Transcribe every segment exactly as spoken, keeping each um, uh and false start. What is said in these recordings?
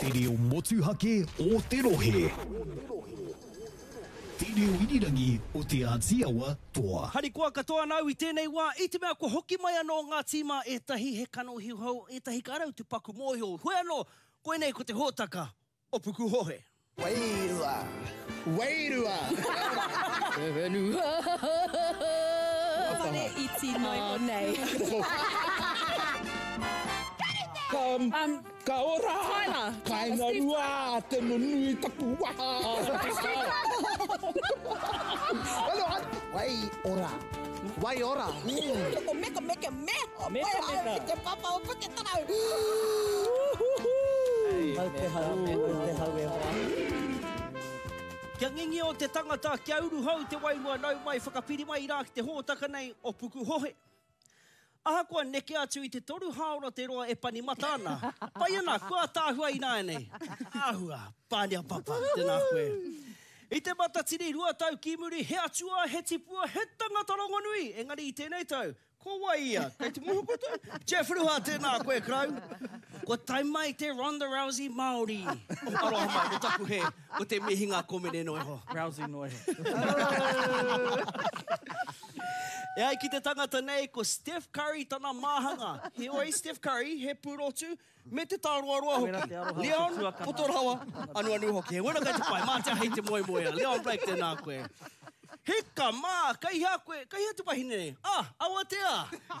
Te reo motuhake o te rohe. Te reo irirangi o Te Āti Awa Toa. Harikoa katoa ana au i tēnei wā, i te mea kua hoki mai anō ngā tīma ētahi he kanohi hou, ētahi ka rau te paku mōhio. Hoi anō, koinei ko te hōtaka o Pukuhohe. Wairua! Wairua! Te whenua! Whare iti noa iho nei. Ka, um, ka ora! Tyler! Kainga rua, te nunui taku waha! Wai ora. Wai ora. Ko meka meka me! Meka meka. Te papa o Puketarau! Mau te hau, mau te hau e hoa. Kia ngingio te tangata, kia uruhau te wairua nau mai whakapiri mai rā ki te hōtaka nei o Pukuhohe. Ahakoa neke atu i te toru hāora te roa e pani mata ana. Pai ana, kua ātaahua ināianei. Āhua, Pānia Papa, tēnā koe. I te Matatini rua tau ki muri, he atua, he tipua, he tangata rongonui. Engari i tēnei tau, ko wai ia? Kei te mōhio koutou? Jeff Ruha, tēnā koe, Crow. Kua tae mai te Ronda Rousey Māori. Aroha mai, ko taku hē, ko te mihinga komene noa iho. Rousey noa iho. E ai ki te tangata nei, ko Steph Curry tana māhanga. Heoi, Steph Curry, he pūrotu, me te tāroaroa hoki. Leon, poto rawa, anuanu hoki. He wera kei te pai, mā te ahi te moemoea. Leon Blake, tēnā koe. Hika mā, kei hea koe, kei hea te wahine nei? Ah, Awatea!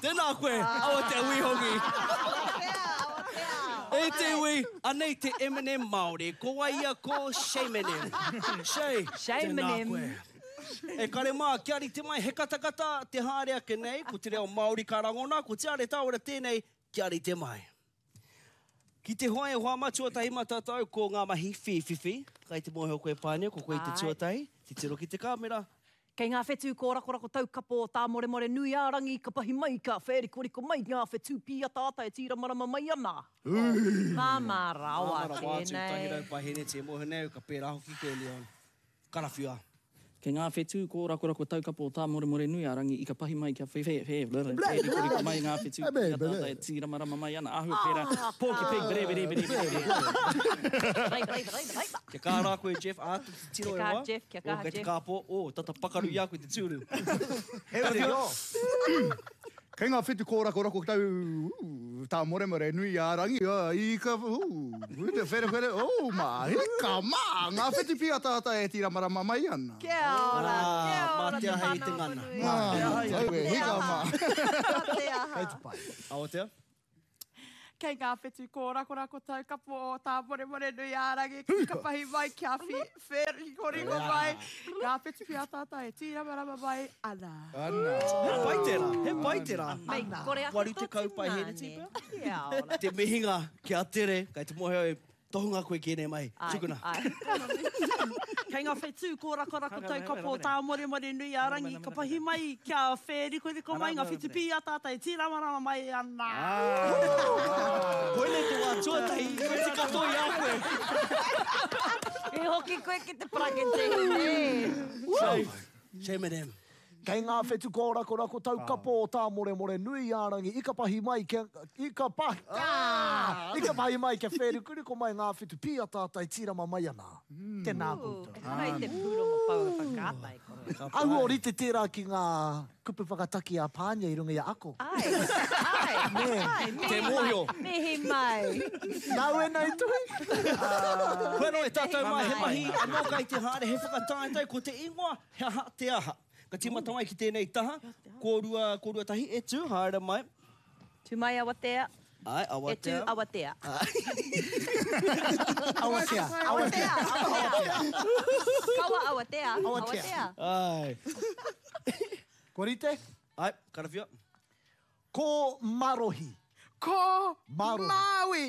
Tēnā koe, Awatea Wihongi. Awatea, Awatea. E te iwi, anei te Eminem Māori. Ko wai ia ko Shaymenem. Shay, tēnā koe. E kare mā, kia rite mai he katakata te haere ake nei, ko te reo Māori ka rangona, ko Tiare Tāwera tēnei, kia rite mai. Ki te hoa e hoa matua tahi mā tātou, ko ngā mahi whīwhiwhi. Kai te mōhio koe Pānia, ko koe te tuatahi, titiro ki te kāmera. Kei ngā whetū kōrakorako taukapo o Tāmoremore nui ā-rangi ka pahi mai, ka whērikoriko mai ngā whetū pīataata e tīramarama mai ana. Māmā rawa Māmā rawa atu, tēnei. tahi rau paeheneti e mōhio nei au ka pērā hoki koe Leon. Karawhiua. Kei ngā whetū kōrakorako taukapo o Tāmoremore nui ā-rangi i ka pahi mai kia whērikoriko mai ngā whetū pīataata e tīramarama mai ana. Āhua pērā, Porky Pig, bere, bere, bere, bere, bere. Kia kaha rā koe, Jeff, āta titiro e Kia kaha, hoa. Jeff, kia kaha, O, kei te Jeff. kāpō, o, tata pakaru i a koe te tūru. He uri Karawhiua. Kei ngā whetū kōrakorako tau Tāmoremore nui ā-rangi, i ka, te wherewhere, oh, mā, hika mā, ngā whetū pīataata e tīramarama mai ana. Kia ora, kia Mā ora te te aha i te whānau ngana. Apanui. Mā te aha i te ngana. Hika mā. Mā te aha. Kei te pai. Awatea. Kei ngā whetū kōrakorako taukapo o Tāmoremore nui ā-rangi, ka pahi mai kia whērikoriko mai, ngā whetū pīataata e tīramarama mai ana. Ana. He pai tērā, he pai tērā. Mei kore ake Waru tō tekau paeheneti tungāne. pea? Kia ora. Te mihinga kia tere, kei te mōhio e tohunga koe ki ēnei mahi. Ai, Tukuna. ai. Kei ngā whetū kōrakorako taukapo o Tāmoremore nui ā-rangi, ka pahi mai kia whērikoriko mai ngā whetū pīataata e tīramarama mai ana. Koinei te wā tuatahi, i weti katoa i a koe. I hoki koe ki te parakete, nē. Shame. Shame at him. Kei ngā whetū kōrakorako taukapo o Tāmoremore nui ā-rangi, i ka pahi mai kia, i ka pahi, ah! I ka pahi mai kia whērikoriko mai ngā whetū pīataata e tīrama mai ana. Tēnā koutou. Ehara i te pūrongo pouaka whakaata e koro. Ahu o rite tērā ki ngā kupu whakataki a Pānia i runga i a ako. Ai, ai, ai, mihi Te mōhio. mai, mihi mai. Nāu e nei tuhi? Koe anō e tātou mā, he mahi anō kai te haere, he whakataetae, ko te ingoa, he aha te aha. Ka tīmata mai ki tēnei taha, kōrua, kōrua tahi, e tū, haere mai. Tū mai Awatea. Ai, E tū Awatea. Awatea. Awatea. Awatea, Awatea. Kaua Awatea, Awatea. Awatea. Ai. Kua rite? Ai, karawhia. Ko Marohi. Ko Marohi. Māui.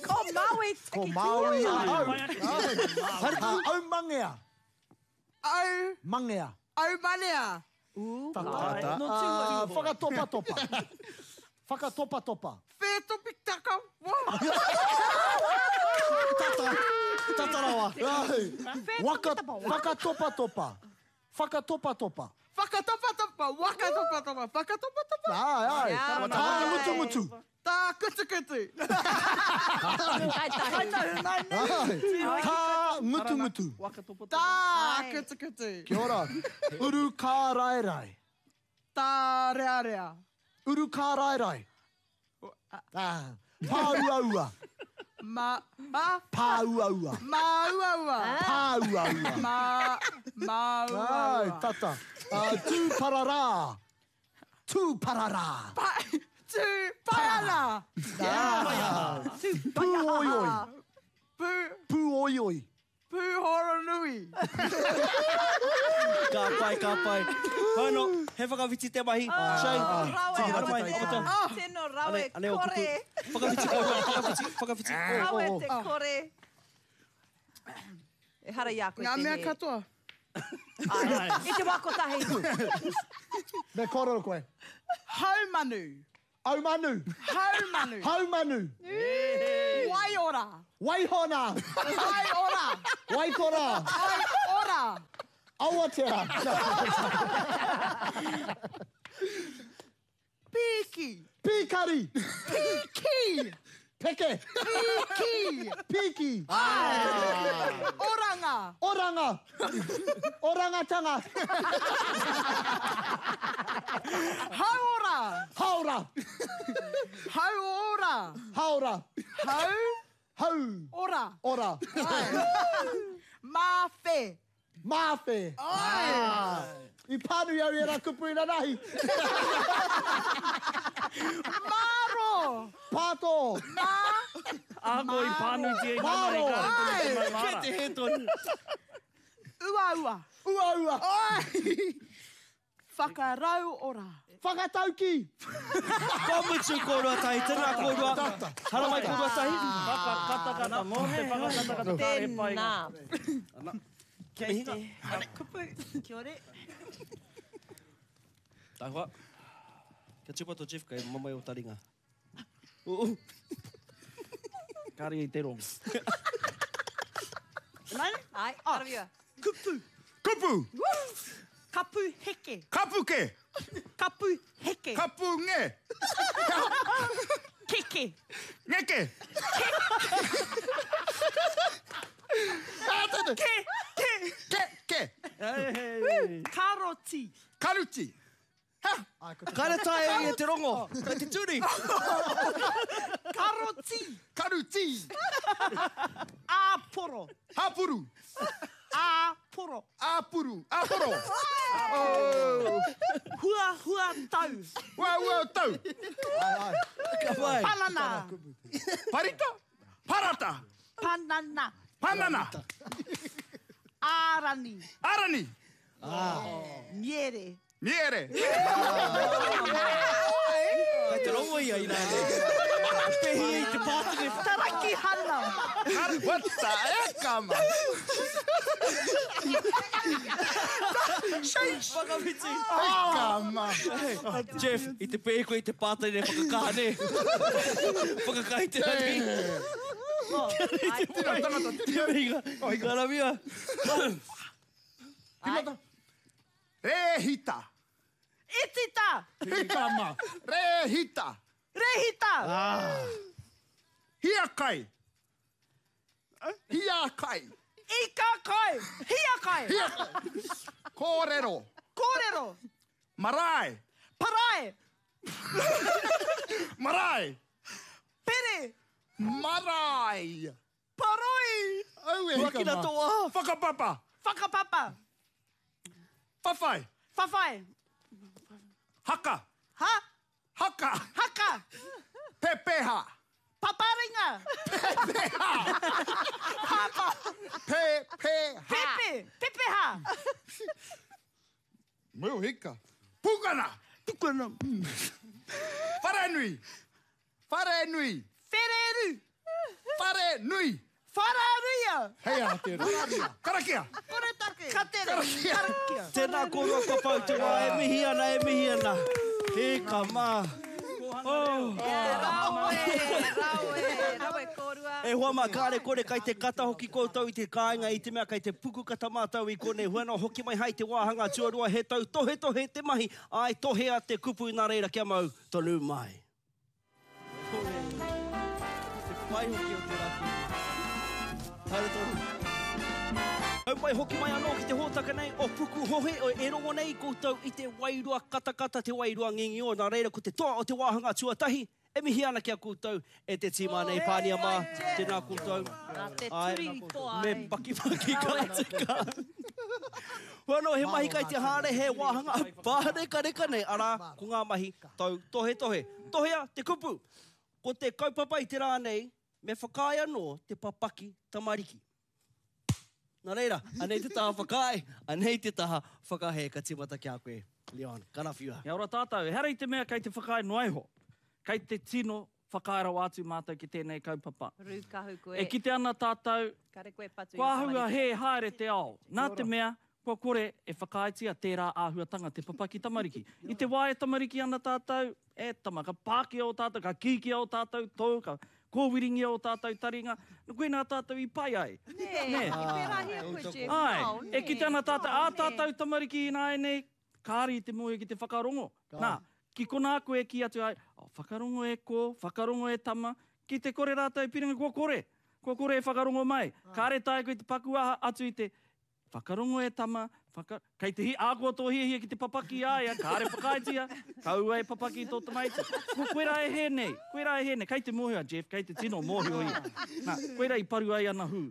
Ko Māui Ko tiki Māui tiki. ahau. Ai. Au mangea. Au. Mangea. Au manea. Tata. Ah, whakatopatopa. Whakatopatopa. Whētopitaka. Tata. Tata rawa. Ai. Waka, whakatopatopa. Whakatopatopa. Whakatopatopa. Wakatopatopa. Whakatopatopa. Ai, ai. Kia Tā ora. ngutungutu. Tā Tā kutukutu. Kai tahu. Kai tahu nai nei. Tā ngutungutu. Tā kutukutu. Kia ora. Uru kāraerae. Tā rearea. Uru kāraerae. Ah. Pāuaua. Ma, ma. Pāuaua. Māuaua. Pāuaua. Ma, māuaua. Ai, tata. Uh, tūpararā. Tūpararā. Pa, tū, paiana. Ah. Pūoioi. Pū, Pūoioi. pūhoronui. Ka pai, ka pai. Hono, he whakawhiti te mahi. Shane, Rawe, tiki haramai, tino, okoto. tino rawe, Ane, ane o kupu. kore. Whakawhiti kōrua, whakawhiti, whakawhiti. Rawe te kore. Ehara i a koe Ngā te mea he. katoa. Ai, I te wā kotahi. Me kōrero koe. Haumanu. Aumanu. Haumanu. Haumanu. Waiora. Waihona. Waiora. Waikora. Waiora. Awatea. Piki. Pīkari. Piki. Peke. Piki. Piki. Oranga. Oranga. Orangatanga. Hauora. Haora. Hauora. Haora. Hau. Hau. Ora. Ora. Māwhe. Māwhe. Ah. I pānui au i era kupu i nanahi. Maro. Pātō. Mā. Ako i pānuitia i nanahi Maro. kāre tonu te Kei maumāra. te he tonu. Uaua. Uaua. Oi. Whakarau ora. Whakatauki. Ka mutu kōrua tahi, tēnā kōrua. Haramai kōrua tahi. Whakakatakata, mō te whakakatakata kāre he painga. Tēnā. Kia mihinga. Kupu. Kia ora. Tahua. Kia tūpato Jeff, kei mamae o taringa. Oo. Kāre i te rongo. Nai? Ai, karawia. Kupu. Kupu. Kapu heke. Kapuke. Kapu heke. Kapu nge. Keke. Ngeke. Ke. Ke. Ke. Ke. Karoti. Karuti. Kāre tae e te rongo. Kei te turi. Karoti. Karuti. Āporo. Hapuru. Āporo. Apuru. Aporo. Oh. Hua hua tau. Ua ua tau. Ka pai. Panana. Parita. Parata. Panana. Panana. Ārani. Arani. Miere. Miere. Kei te rongo ia i nāne. Pehi i te pātene. Tarakihana. What the heck, ama? Whakawhiti. Eka, ma. Jeff, i te pehi koe i te pātene whakakaha ne. Whakakaha i te rangi. Tira tangata, Te tira. mihinga. Karawia. Timata. Rehita. Itita. Hika, ma. Rehita. Rehita. Hiakai. Hiakai. Ika kai. Hiakai. Hiakai. Kōrero. Kōrero. Marae. Parae. Marae. Pere. Marae. Paroi. Au e hika, Huakina ma. tō aha. Whakapapa. Whakapapa. Whawhai. Whawhai. Haka. Ha. Haka. Haka. Pepeha. Paparinga. Pepeha. Papa. Pepeha. Pepe. Pepeha. Meu hika. Pukana. Pukana. Wharenui. Wharenui. Whereru. Wharenui. Whararuia. Hei a tērā. Karakia. Koretake. Katere. Karakia. Karakia. Tēnā kōrua kua pau te wā, e mihi ana, e mihi ana. Hika mā. Oh. Rawe, rawe, rawe kōrua. E hoa mā, kāre kore kai te kata hoki koutou i te kāinga i te mea kai te puku kata mātou i konei. Huana hoki mai hai te wāhanga tuarua he tau tohe tohe te mahi. Ai tohea te kupu nā reira kia mau tonu mai. pai hoki o tērā kēmu. Haere tonu. Hau mai hoki mai anō ki te hōtaka nei o Pukuhohe, o e rongo nei koutou i te wairua katakata, te wairua ngingio. Nā reira ko te toa o te wāhanga tuatahi, e mihi ana ki a koutou e te tīma nei, Pānia mā, tēnā koutou. Nā te Ai, turi i toa Me ai. pakipaki ka tika. Hua anō, he mahi kai te haere, he wāhanga pārekareka nei, arā, ko ngā mahi tau tohe tohe. Tohea te kupu. Ko te kaupapa i te rā nei, me whakaae anō te papaki tamariki. Nā reira, anei te taha whakaae, anei te taha whakahē, ka tīmata ki a koe, Leon, karawhiua. Kia ora tātou, ehara i te mea kei te whakaae noa iho. Kei te tino whakaae rawa atu mātou ki tēnei kaupapa. Rūkahu koe. E kite ana tātou, Kare koe patu i kua āhua tamariki. hē haere te ao. Nā te mea, kua kore e whakaaetia tērā āhuatanga te papaki tamariki. I te wā e tamariki ana tātou, e tama, ka pākia o tātou, ka kīkia o tātou tō, ka kōwiringia o tātou taringa, koe nā tātou i pai ai. Nē, Nē. i pērāhia koe, Jeff. Ai, Nāo, e nē. kite ana tātou, ā Nāo, nē. tātou tamariki ināianei, kāre i te mōhio ki te whakarongo. Nā, ki konā koe ki atu ai, oh, whakarongo e kō, whakarongo e tama, ki te kore rātou piringa, kua kore, kua kore e whakarongo mai. Kāre tae koe te pakuaha atu i te whakarongo e tama, whaka... kei te hi, ākoa tō hiahia ki te papaki a ia, kāre whakaaetia, kaua e papaki tō tamaiti. Ko koe rā e hē nei, koe rā e hē nei, kei te mōhio a Jeff, kei te tino mōhio ia. Nā, koe rā i paru ai ana hū.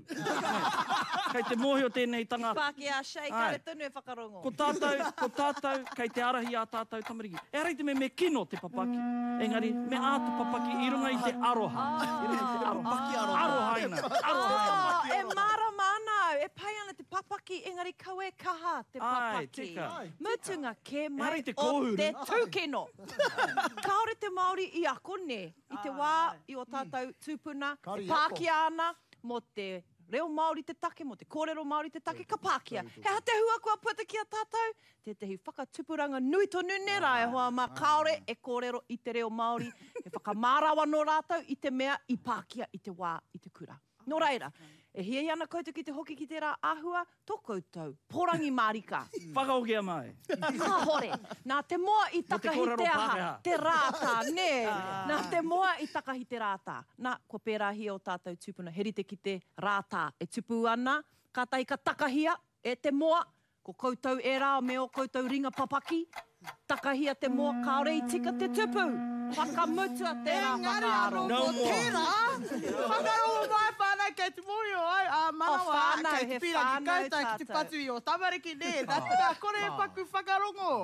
Kei te mōhio tēnei tangata. Pākehā Shay, Ai. kare tonu e whakarongo. Ko tātou, ko tātou, kei te arahi a tātou tamariki. Ehara i te mea me kino te papaki, engari me āta papaki i runga i te aroha. I runga i te aroha. Arohaina, arohaina. Oh, e mārama ana au, e pai ana te papaki, engari kau e kaha te Ai, papaki. tika. Mutunga kē mai Ehara i te o kōhuru. te tūkino. Kāore te Māori i ako nē, i te wā i o tātou tūpuna, Kāore e i ako. pākia ana mō te reo Māori te take, mō te kōrero Māori te take, ka pākia. He aha te hua kua puta ki a tātou? Tētehi whakatupuranga nui tonu nē rā e hoa mā, kāore e kōrero i te reo Māori, e whakamārawa nō rātou i te mea i pākia i te wā i te kura. Nō reira, e hiahia ana koutou ki te hoki ki tērā āhua, tō koutou, porangi mārika. Whakahokia mai. Kāhore, nā te moa i Mō te takahi kōrero te aha, Pākehā. te rātā, nē. Nā te moa i takahi te rātā. Nā, kua pērāhia o tātou tūpuna, he rite ki te rātā e tupu ana, kātahi ka takahia e te moa, ko koutou e rā me o koutou ringa papaki, takahia te moa, kāore i tika te tupu. Whakamutua tērā Engari whakaaro. anō ko tērā, whakarongo mai whānau kei te mōhio ai, ā manawa, O whānau, kei te he pīrangi whānau koutou ki te tātou. patu i o tamariki nē, nā te mea kore e paku whakarongo.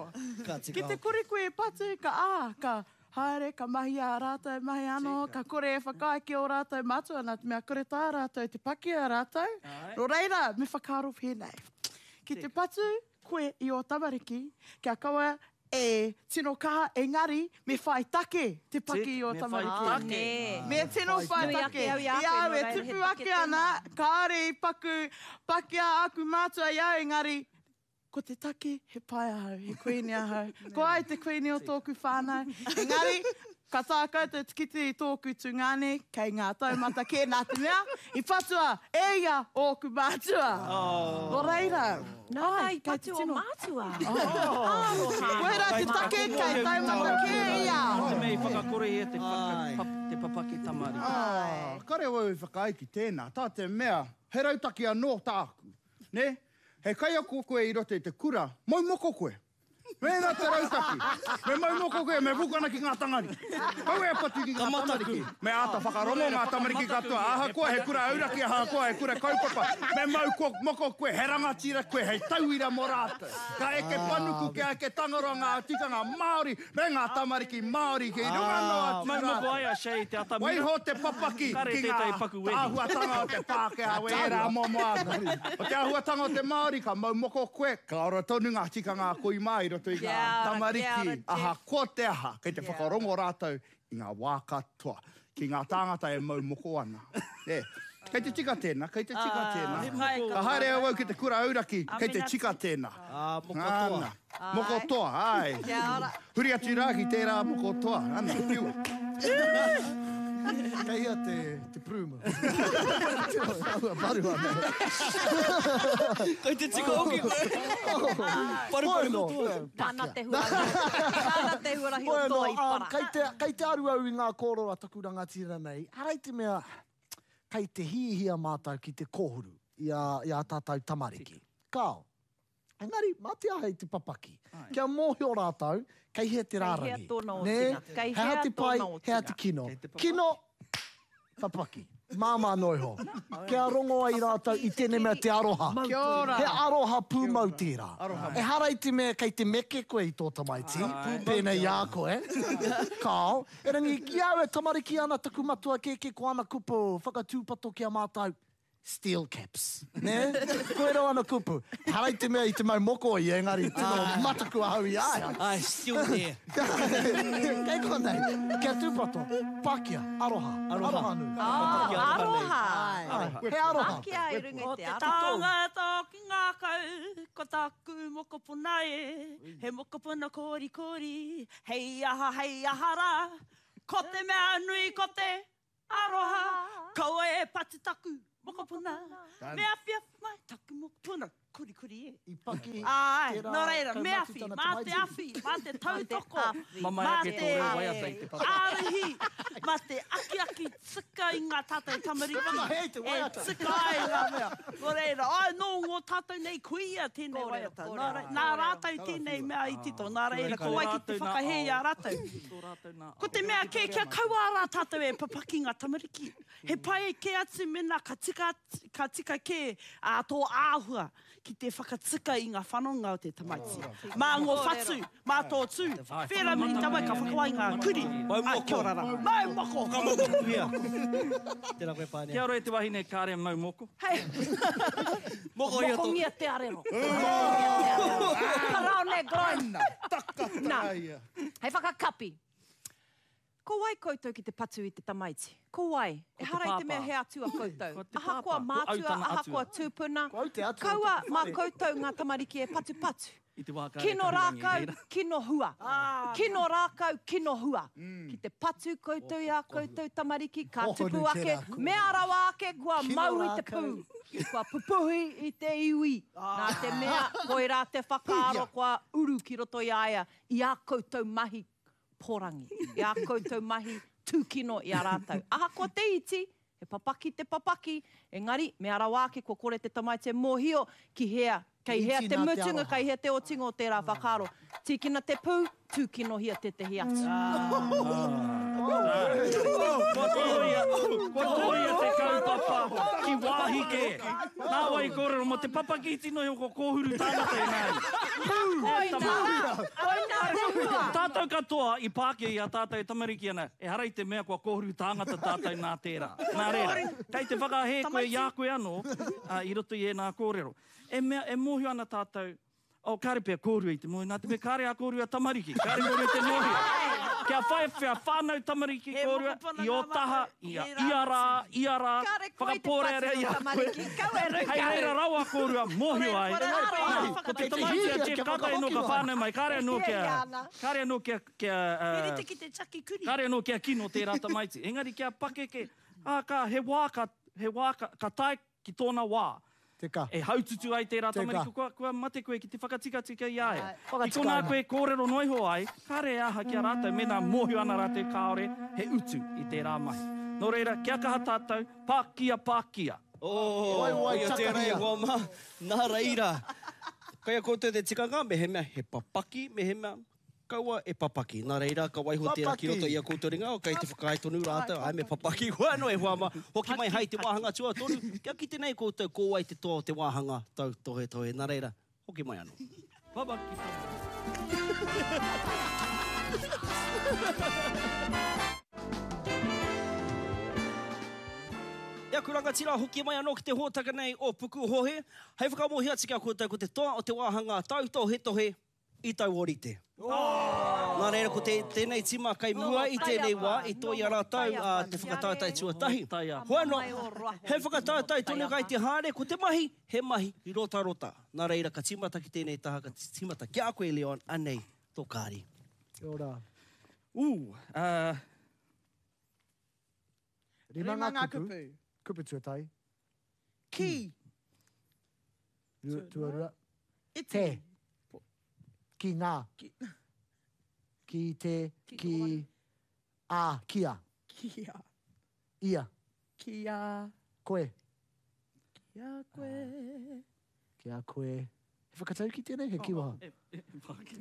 Ka tika Ki te kore koe e patu, ka ā, ka haere, ka mahi ā rātou mahi anō, ka kore e whakaae ki ō rātou matua, nā te mea kore tā rātou te paki a rātou. Nō reira, me whakaaro pēnei. Ki te patu koe i ō tamariki, kia kaua e tino kaha, engari, me whai take te paki i ō Me whai tamariki. take. Me tino whai Nui take. ake au i a I koe, au nō e reira, he tupu take ake ana, kāore i paku pakia aku mātua i au, engari, ko te take, he pai ahau, he kuini ahau. Ko ai te kuini o tōku whānau. Engari, ka tā koutou te kite i tōku tungāne, kei ngā taumata kē nā te mea, i patua e ia ōku mātua. Nō reira. Nā, nā, i kei te patu o tino- mātua. Aroha. Koirā te take kei taumata kē ia. Nā te mea i whakakore ia te, whaka, pap, te papaki tamariki. Ah, kare wau i whakaae ki tēnā, tā te mea, he rautaki anō tāku. Ne? He kaiako koe i roto i te kura, mau moko koe. Mēnā te rautaki. Me mau moko koe, me pukana ki ngā tamariki. Kau e patu ki ngā tamariki. Me āta whakarongo ngā tamariki katoa. Ahakoa he kura auraki, ahakoa he kura kaupapa. Me mau ko, moko koe, he rangatira koe, hei tauira mō rātou. Ka eke panuku, kia eke tangaroa ngā tikanga Māori, me ngā tamariki Māori ki runga noa atu Mau moko rātou. ai a Shay te atamira. Waiho te papaki Kare ki ngā tētahi paku wehi. āhuatanga o te Pākehā, we ērā momo āhua. O te āhuatanga o te Māori, ka mau moko koe, ka ora tonu ngā tikanga a koi mā i roto i ngā Kia ora, kia ora, tamariki. Jeff. Ahakoa te aha, kei te whakarongo rātou i ngā wā katoa, ki ngā tāngata e mau moko ana. E, kei te tika tēnā, kei te tika tēnā. Ka haere au au ki te kura auraki, kei te tika tēnā. Ah, moko toa. Ana, moko toa, ai. Kia ora. Huri atu rā ki tērā moko toa. Ana, whiua. Kei hea te, te pruuma. Aua, paru ana. Kei te tika hoki koe. Paru paru Bueno. katoa. Tāna te huarahi. Tāna te huarahi o Bueno, toa i um, para. kei te, kei te aru au i ngā kōrero a taku rangatira nei. Ara i te mea, kei te hihia mātou ki te kōhuru i a, i a tātou tamariki. Kao. Engari, mā te aha i te papaki. Kia mōhio rātou, kei hea te rārangi. Kei hea tōna Nē? otinga. Kei He aha hea te pai, tōna he aha te kino. Kino, papaki. Māmā noa iho. Kia rongo ai rātou i tēnei mea te aroha. Kia ora. He aroha pūmau tērā. Aroha. Ehara i te mea kei te meke koe i tō tamaiti, pēnei i a koe. Kao. Erangi, ki au e tamariki ana taku matua kēkē ko ana kupu whakatūpato ki a mātou, steel caps. Nē? Koe rau ana kupu. Ehara i te mea i te mau moko ia, engari tino mataku ahau i a ia. Ai, still there. Kei konei, kia tūpato, pakia, aroha, aroha nui. Ah, aroha. Ai, he aroha. Pakia i runga Ko i te te aroha. tangata ki ngākau, ko taku mokopuna e, he mokopuna korikori, hei aha, hei aha rā, ko te mea nui ko te aroha, kaua e patu taku mokopuna, me awhi awhi mai taku mokopuna, korikori e. I paki Ai, tērā nō reira, me kaumatu awhi, tana mā te tamaiti. awhi, mā te tautoko, Mamae mā ake te tō reo waiata i te papa. ārahi, mā te akiaki tika i ngā tātou tamariki, Whakahē te e waiata. tika ai ngā mea. Nō reira, ai, nō ngō tātou nei kuia tēnei Kōrero, waiata. kōrero, Nā, re- nā rātou tēnei mea i tito, nā reira, ko wai ki te whakahē i a rātou. Tō rātou nā Ko te mea kē, kia kaua rā tātou e papaki ngā tamariki. He pai kē atu mena ka tika, ka tika kē a tō āhua ki te whakatika i ngā whanonga o te tamaiti. Mā ngō whatu, mā tō tū. Whera mini tawai ka whakawai ngā kuri. Mau Ai, moko. kia ora rā. Mau moko. Whakamokotuia. Tēnā koe Pānia. Kia ora e te wahine kāre mau moko. Hei, Moko ia tō. mokongia te arero. Mokongia te arero. Paraone groin. Nā. Hei whakakapi. Ko wai koutou ki te patu i te tamaiti? Ko wai? Ko te Ehara i te mea pāpā. he atua koutou. Ko te Ahakoa pāpā. Ko au mātua, tana ahakoa atua. tūpuna. Ko au te atua o Kaua taku mā whare. koutou ngā tamariki e patupatu. I te wā kāre Kino kahurangi i rākau, reira. kino hua. Kino rākau, kino hua. Ki te patu koutou i a koutou tamariki, ka Hohonu tupu ake, tērā kōrero. mea rawa ake, kua Kino mau i te rākau. pū. Kua pupuhi i te iwi. Nā te mea, koirā te whakaaro kua uru ki roto i a ia, i a koutou mahi porangi, i a koutou mahi tūkino i a rātou. Ahakoa te iti, he papaki te papaki, engari, mea rawa ake kua kore te tamaiti e mōhio ki hea, kei hea Iti te nā te mutunga, aroha. kei hea te otinga o tērā whakaaro. Tīkina te pū, tūkinohia tētehi atu. Kua tōia, kua tōia te kaupapa ki wāhi kē. Nā wai kōrero mō te papaki iti noho ko kōhuru tāngata i nāi. Koina, koina te hua. Tātou katoa i pākia i a tātou e tamariki ana, ehara i te mea kua kōhuru tāngata tātou nā tērā. Nā reira, kei te whakahē koe i a koe anō uh, i roto i ēnā kōrero. E mea, e mōhio ana tātou, oh, kāre pea kōrua i te mōhio, nā te mea kāre a kōrua tamariki, kāre kōrua te mōhio. Kia whai whea whānau tamariki He kōrua, mokopuna i o ngā taha, mātou, i a, he rā ia rā, ia rā, Kāre koe te whakapōrearea patu i a o koe. tamariki, kau e Hei rukau. reira rawa kōrua mōhio ai. Kore Nā, rā, Ko te Kei te tamaiti a hihia Jeff kia kātahi anō ka whakahoki mai. whānau mai, kāre anō kia, Hiahia ana. kāre anō kia, kia, He uh, rite ki te taki kuri. kāre anō kia kino tērā tamaiti. Engari kia pakeke, ā, ka, he wā ka, he wā ka, ka tae ki tōna wā. Teka. E haututu ai tērā Teka. tamariki, kua, kua mate koe ki te whakatikatika i a ia. Ki Whakatika konā ana. koe kōrero noa iho ai, kāre e aha ki a rātou, mēnā mōhio ana rātou kāore he utu i tērā mahi. Nō reira, kia kaha tātou, pākia, pākia. Oh, Wai, wai, ia tērā e takahia. hoa mā. Nā reira. Kai a koutou te tikanga, me he mea he papaki, me he mea kaua e papaki. Nā reira, ka waiho tērā ki roto i a koutou ringa, o kei te whakaae tonu rātou, ai me papaki. Hua anō e hoa mā. Hoki mai hai te wāhanga tuatoru, kia kite nei koutou ko wai te toa o te wāhanga tau tohe tohe. Nā reira, hoki mai anō. Papaki. Ia ku rangatira hoki mai anō ki te hōtaka nei o Pukuhohe. Hei whakamohi atu ki a koutou ko te toa o te wāhanga tautohetohe i tauorite. Oh! Nā reira, ko te, tēnei tima kai mua i tēnei wā, i toi a rātou uh, te whakataetae tuatahi. Hoi anō, he whakataetae tonu kai te haere, ko te mahi, he mahi rotarota. Nā reira, ka tīmata ki tēnei taha, ka tīmata ki a koe, Leon, anei tō kāri. Kia ora. Ū, uh, Rima Rima ngā ngā kupu. kupu. Kupu tuatahi. Ki. Rua, tuarua. Iti. Te. Ki ngā. Ki te. Ki. A. Kia. Kia. Ia. Kia. Koe. Ki a koe. Ki a koe. He whakatauki tēnei, he kiwaha. E, e, whāki.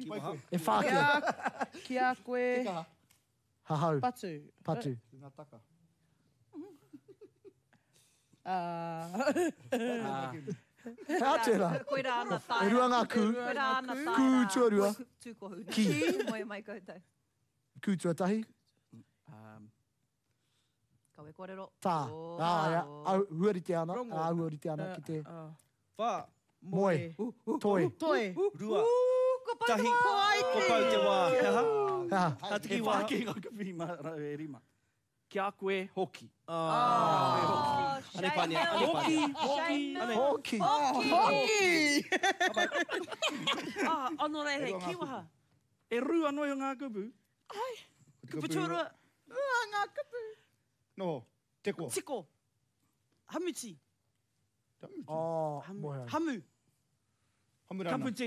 E whāki. Ki a, ki a koe. Hahau. Patu. Patu. Ah. He aha tērā? Koirā ana taera. E rua ngā kū. Koirā ana taera. Kū tuarua. Tūkohu. Ki. Moe mai koutou. Kū tuatahi. Um, Kawe kōrero. Tā. Oh. Ā, ia. Au, huarite ana. Ā, huarite ana ki te... Whā. Moe. Toi. Toi. Rua. Ko pau te Tahi. wā. Ko pau te wā. He aha? He aha? Tā te E kiwaha. whāki ngā kupu i mā rau e rima. Ki a koe hoki. Ah. Oh, Ane pānia, ane Hoki, pānia. hoki. Hoki. Hoki! Ah, anō rei hei kiwaha. E rua noi o ngā kupu. Kupu tuarua, Rua ngā kupu. No, teko. tiko. Hamuti. Oh, moe. Hamu. Hamurana. Kaputi.